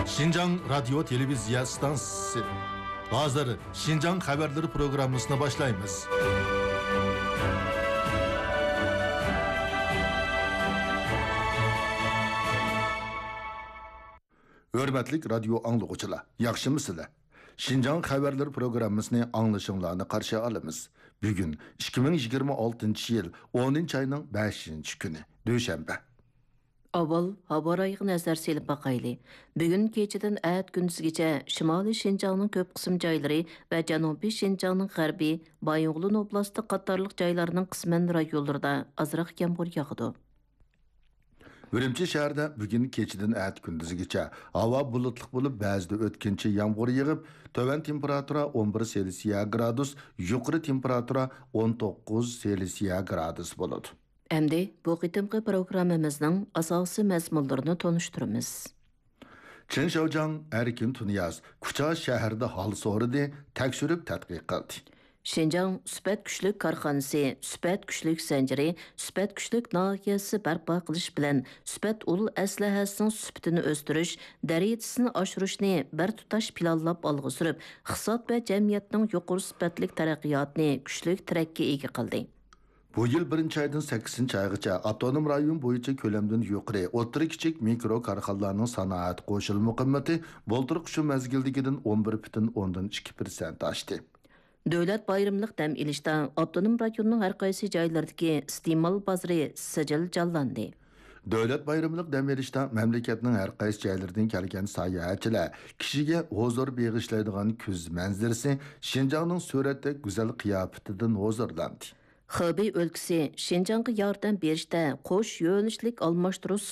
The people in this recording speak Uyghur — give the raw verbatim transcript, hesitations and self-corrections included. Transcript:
شىنجاڭ رادىيو تېلېۋىزىيە ئىستانسىسى. ھازىر شىنجاڭ خەۋەرلىرى پروگراممىسىنى باشلايمىز. ھۆرمەتلىك رادىيو ئاڭلىغۇچىلار، ياخشىمۇسىلەر؟ شىنجاڭ خەۋەرلىرى پروگراممىسىنى ئاڭلىشىڭلارنى قارشى ئالىمىز. بۈگۈن ئىككى مىڭ يىگىرمە ئالتىنچى يىل ئونىنچى ئاينىڭ بەشىنچى كۈنى، دۈشەنبە. ئاۋۋال ھاۋا رايىغا نەزەر سېلىپ باقايلى. بۈگۈن كېچىدىن ئەتە كۈندۈزگىچە شىمالىي شىنجاڭنىڭ كۆپ قىسىم جايلىرى ۋە جەنۇبىي شىنجاڭنىڭ غەربى، بايىنغولىن ئوبلاستى قاتارلىق جايلارنىڭ قىسمەن رايونلىرىدا ئازراق يامغۇر ياغىدۇ. ئۈرۈمچى شەھىرىدە بۈگۈن كېچىدىن ئەتە كۈندۈزگىچە ھاۋا بۇلۇتلۇق بولۇپ، بەزىدە ئۆتكۈنچى يامغۇر يېغىپ، تۆۋەن تېمپېراتۇرا ئون بىر سېلسىيە گرادۇس، يۇقىرى تېمپېراتۇرا ئون توققۇز سېلسىيە گرادۇس بولىدۇ. ئەمدى بۇ قېتىمقى پروگراممىمىزنىڭ ئاساسىي مەزمۇنلىرىنى تونۇشتۇرىمىز. چېن شياۋجياڭ، ئەركىن تۇنىياز كۇچا شەھىرىدە ھال سورىدى، تەكشۈرۈپ تەتقىق قىلدى. شىنجاڭ سۈپەت كۈچلۈك كارخانىسى، سۈپەت كۈچلۈك زەنجىرى، سۈپەت كۈچلۈك ناھىيەسى بەرپا قىلىش بىلەن سۈپەت ئۇل ئەسلىھەسىنىڭ سۈپىتىنى ئۆستۈرۈش، دەرىجىسىنى ئاشۇرۇشنى بىر تۇتاش پىلانلاپ ئالغا سۈرۈپ، ئىقتىساد ۋە جەمئىيەتنىڭ يۇقىرى سۈپەتلىك تەرەققىياتىنى كۈچلۈك تىرەككە ئىگە قىلدى. بۇ يىل بىرىنچى ئايدىن سەككىزىنچى ئايغىچە ئاپتونوم رايون بويىچە كۆلەمدىن يۇقىرى، ئوتتۇرا، كىچىك، مىكرو كارخانىلارنىڭ سانائەت قوشۇلما قىممىتى بۇلتۇرقى شۇ مەزگىلدىكىدىن ئون بىر پۈتۈن ئوندىن ئىككى پىرسەنت ئاشتى. دۆلەت بايرىملىق دەم ئېلىشتا ئاپتونوم رايوننىڭ ھەر قايسى جايلىرىدىكى ئىستېمال بازىرى سىجىل جانلاندى. دۆلەت بايرىملىق دەم ئېلىشتا مەملىكەتنىڭ ھەر قايسى جايلىرىدىن كەلگەن ساياھەتچىلەر كىشىگە ھۇزۇر بېغىشلايدىغان كۈز مەنزىرىسى، شىنجاڭنىڭ سۈرەتتەك گۈزەل قىياپىتىدىن ھۇزۇرلاندى. خېبېي ئۆلكىسى شىنجاڭغا ياردەم بېرىشتە قوش يۆنىلىشلىك ئالماشتۇرۇش